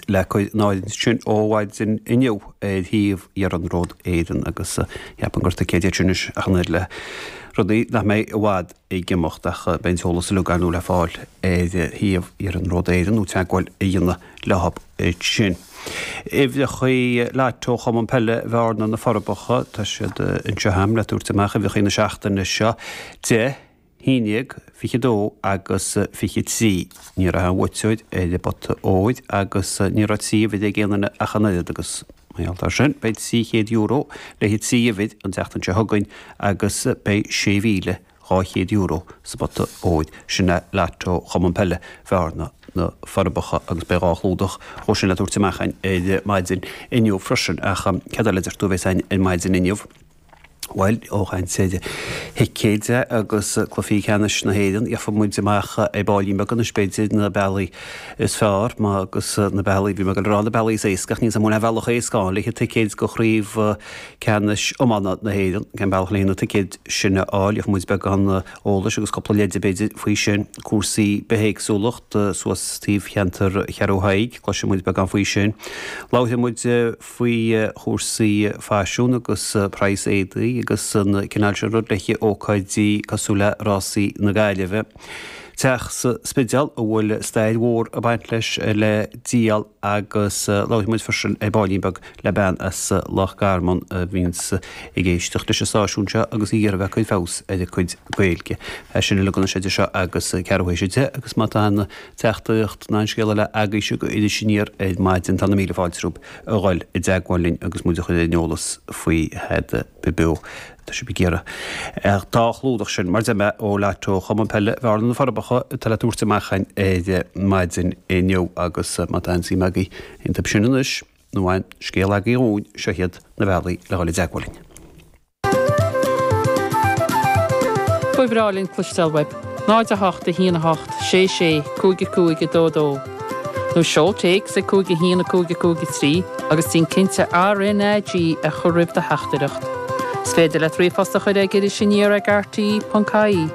Le cur in áirithe sin ó mhaidin inniu ar shuíomh Iarnród Éireann agus cheapfainn gur ticéid iad sin anois ach an oiread le rudaí nach mbeidh i bhfad ag imeacht ach beidh an t-eolas uilig ar ndóigh le fáil ar shuíomh Iarnród Éireann nó teagmháil a dhéanamh leo ansin. Uimhreacha Lotto Chumann Peile Bhearna na Forbacha, tá siad anseo agam le tabhairt amach, uimhreacha na seachtaine seo, 10, 11, 22 agus 23. Ní raibh aon bhuaiteoir ar an bpota óir agus ní raibh 3 uimhir ag aon duine ach an oiread agus mar gheall air sin beidh €300 le haghaidh 3 uimhir an tseachtain seo chugainn agus beidh €6,200 sa bpota óir. Sin é Lotto Chumann Peile Bhearna na Forbacha agus beidh 2 chlúdach dhó sin le tabhairt amach againn ar maidin inniu freisin. Ach céard eile a deir tú a bheas againn ar maidin inniu? Bhuel, ó chaint ar thicéid agus cluichí ceannais na hÉireann, gheobhaidh muid amach ar baillín beag anois, b'fhéidir, na bealaí is fearr agus na bealaí, bhí mé ag dul a rá na bealaí is éasca, ach níl 's agam an bhfuil aon bhealach éasca ann le haghaidh ticéid do chraobh ceannais iomána na hÉireann. Cén bealach le haghaidh na ticéid sin a fháil? Gheobhaidh muid beagán eolais agus cúpla leide, b'fhéidir, faoi sin. Cúrsaí bithéagsúlacht suas taobh cheantar Cheathrú Thaidhg, cloisfidh muid beagán faoi sin. Labharfaidh muid. faoi chúrsaí faisiún agus praghas éadaí agus an cineál sin rud le haghaidh ócáidí cosúil le Rásaí na Gaillimhe. Teach sa Spidéal a bhfuil stair mhór ag baint leis le díol agus labharfaidh muid freisin ar baillín beag le bean as Loch Garman a bhíonns ag éisteacht leis an stáisiún seo agus í ag iarraidh a bheith ag cur feabhas ar a cuid Gaeilge. É sin uilig anois idir seo agus ceathrú théis 10 agus má tá aon teachtaireacht ná aon scéal eile agaibhse go Iris Aniar ar maidin tá na míle fáilte romhaibh a dhul i dteagmháil linn agus muid a chur ar an eolas faoi thada beo. Tá sibh ag iarraidh an dá chlúdach sin, mar a deir mé, ó Lotto Chumann Peile Bhearna na Forbacha atá le tabhairt amach againn ar maidin inniu agus má tá aon suim agaibh iontu sin anois nó aon scéal agaibh dhúinn, seo iad na bealaí le dhul i dteagmháil linn. Ba bhreá linn cloisteáil uaibh. 0 8 1 8 6 6 5 5 2 2 Nó seol téacs ag 5 1 5 5 3 agus déan cinnte RnaG a chur roimh do theachtaireacht. Is féidir leat ríomhphost a chur ag irisaniar ag rte.ie.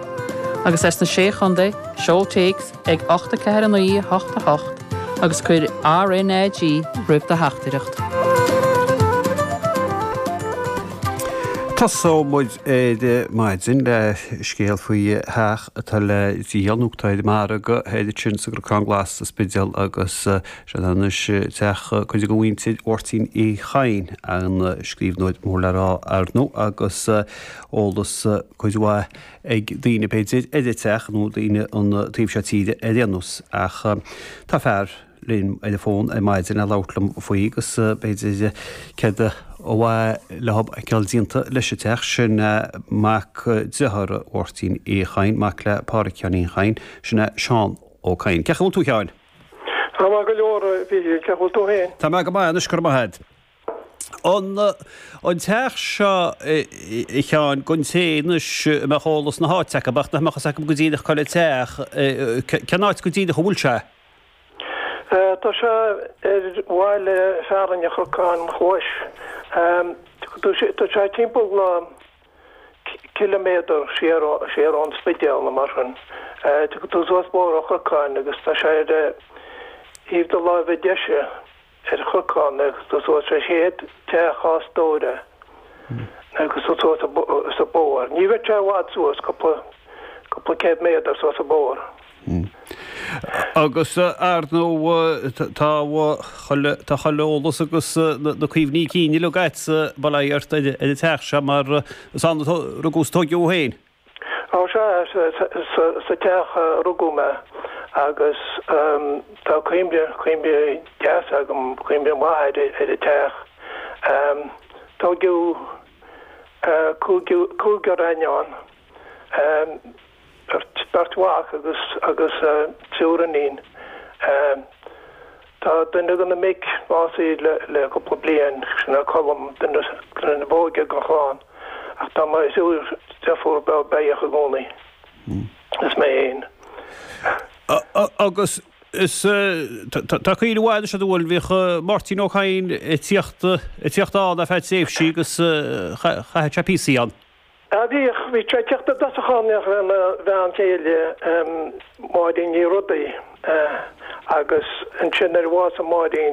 Agus as na Sé Chontae, seol téacs ag 8 4 9 8 8 agus cuir RnaG roimh do theachtaireacht. Tosóidh muid ar maidin le scéal faoi theach atá le díol nó atá ar an margadh thoir ansin sa gCnocán Glas sa Spidéal agus sé anois teach cuid de mhuintir Mháirtín Uí Chadhain, an scríbhneoir mór le rá ar ndóigh agus eolas cuid mhaith ag daoine b'fhéidir ar an teach nó daoine an taobh seo tíre ar aon nós ach tá fear linn ar an bhfón ar maidin le labhairt liom faoi agus b'fhéidir céard ba mhaith leo a fheiceáil déanta leis an teach sin mac dearthára Mháirtín Uí Chadhain, mac le Pádhraic Sheáinín Chadhain, sin é Seán Ó Cadhain. Cén chaoi a bhfuil tú a Sheáin? Tá maith go leor a Mhíchíl, cén chaoi a bhfuil tú féin? Tá mé go maith anois, go raibh maith agat. An an teach seo, a Sheáin, don té anois a mbeadh eolas na háite acu, ach nach mbeadh fhios acu go díreach cá bhfuil an teach, cén áit go díreach a bhfuil sé? Tá sé ar bhaile fearainn an Chnocáin Ghlais. Tá sé timpeall ciliméadar siar siar ón Spidéal nó mar sin. Tiocfaidh tú suas Bóthar an Chnocáin agus tá sé ar thaobh do láimhe deise. ar an Chnocán agus tú suas an chéad teach as Dóire agus tú suas sa bóthar. Ní bheidh sé i bhfad suas, cúpla, cúpla céad méadar suas an bóthar. Agus ar ndóigh tá chuile, tá chuile eolas agus na cuimhní cinn uilig agatsa, bail ó Dhia ort ar an teach seo mar is ann a rugadh is a tóigeadh thú féin. Ó sea, sa teach a rugadh mé agus tá cuimhne, cuimhne deas agam, cuimhne mhaith ar an teach. Tóigeadh cúigear againn ann, beirt mhac agus agus triúr iníon. Tá duine de na mic básaithe le cúpla bliain, sin é Colm, duine ba óige den chlann, ach tá mo thriúr deirfiúr beo beathach i gcónaí, is mé féin. Agus is tá cuimhne mhaith anois agat bhuel, bhíodh Máirtín Ó Cadhain ag tíocht ag tíocht ann ar feadh tréimhsí agus chaitheadh sé píosaí ann. Á bhíodh, bhí sé ag teacht i dtosach ann lena bhean chéile, Máirín Ní Rodaigh. Agus ansin nuair a bhásaigh Máirín.